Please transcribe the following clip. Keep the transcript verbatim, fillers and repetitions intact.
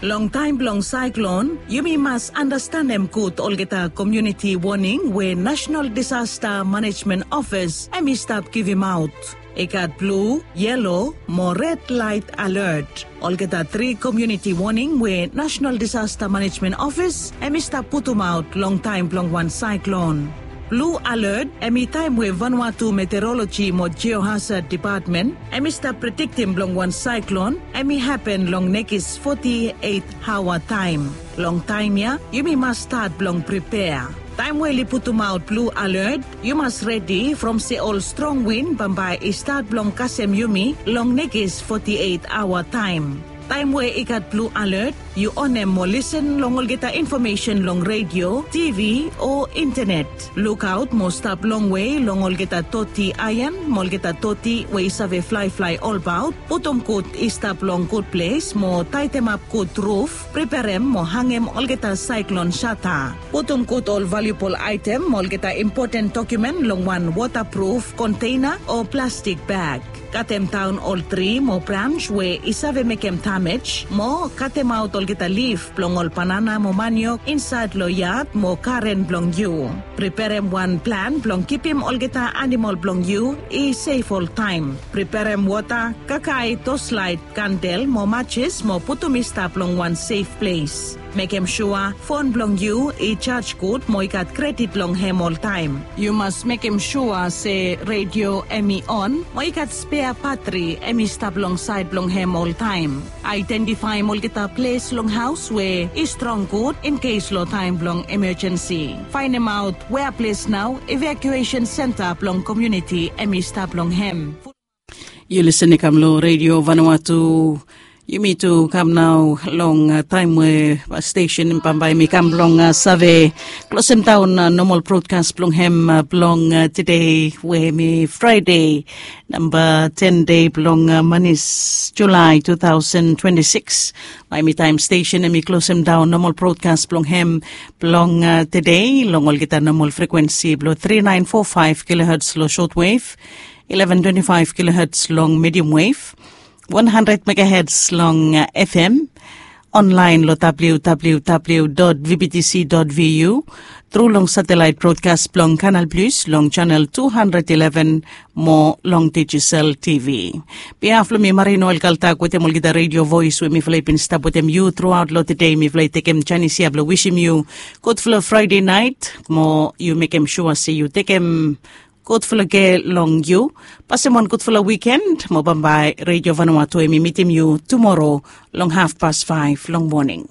Long taem blong saeklon, yumi mas andastanem gud olgeta komuniti woning we National Disaster Management Office hem i stap givimaot. I gat blu, yelo mo red laet alert. Olgeta tri komuniti woning we National Disaster Management Office hem i stap putumaot long taem blong wan saeklon. Blu alert hem i taem we Vanuatu Meteoroloji mo Geohazard Depatmen hem i stap prediktim blong wan saeklon hem i hapen long nekis foti eit aoa taem. Long taem ya yumi mas stat blong pripea. Taem we oli putumaot blu alert, yu mas redi from se ol strong win bambae i stat blong kasem yumi long nekis foti eit aoa taem. Taem we i gat blu alert, yu onem mo lisen long olgeta infomesen long redio, tivi o intenet. Lukaot mo stap longwe long olgeta toti aean mo olgeta toti we i save flaeflae olbaot. Putum gud i stap long gud ples mo taetemap gud ruf. Preperem mo hangem olgeta saeklon sata. Putum gud ol valiubol aetem mo olgeta impoten dokumen long wan wotapruf konteina o plastik bag. Katemdaon ol tri mo brans we i save mekem damej mo katemaot olgeta lif blong ol banana mo maniok insaed long yad mo garen blong yu. Preperem wan plan blong kipim olgeta anamol blong yu i sef oltaem. Preperem wota, kakae, toslaet, kandel mo majes mo putum i stap long wan sef ples. Mekem sua fon blong yu i jaj gud mo i gat kredit long hem oltaem. Yu mas mekem sua se redio hem i on mo i gat spea batri hem i stap long saed blong hem oltaem. Aedentifaem olgeta ples long haos we i strong gud in kes long taem blong emejensi. Faenemaot wea ples nao evakuesen senta blong komuniti hem i stap long hem. Yu lisen i kam long redio Vanuatu. Yumi tu kam nao long taem we stesen bambae mi kam blong save klosemdaon nomol brodkas blong hem blong tede we mi Fraede namba ten dei blong manis Julae tu taosen twenti sikis. Bae mi taem stesen hem i klosemdaon nomol brodkas blong hem blong tede long olgeta nomol frekuensi blong tri naen fo faef kiloherts long sotwev, eleven twenti faef kiloherts long medium wave, one hundred megaherts long fm, onlaen long www vbtc vu, tru long satelaet brodkas blong Kanal Plus long janel tu handred eleven mo long Digicel TV. Biaf long mi Marino Elkaltak wetem olgeta redio voes we mifala i bin stap wetem yu truaot long tede, mifala i tekem janis ya blong wisim yu gudfala Fraede naet mo yu mekem sua se yu tekem gudfala kea long yu. Pasem wan gudfala wiken mo bambae redio Vanuatu hem i mitim yu tumoro long hafpas faef long moning.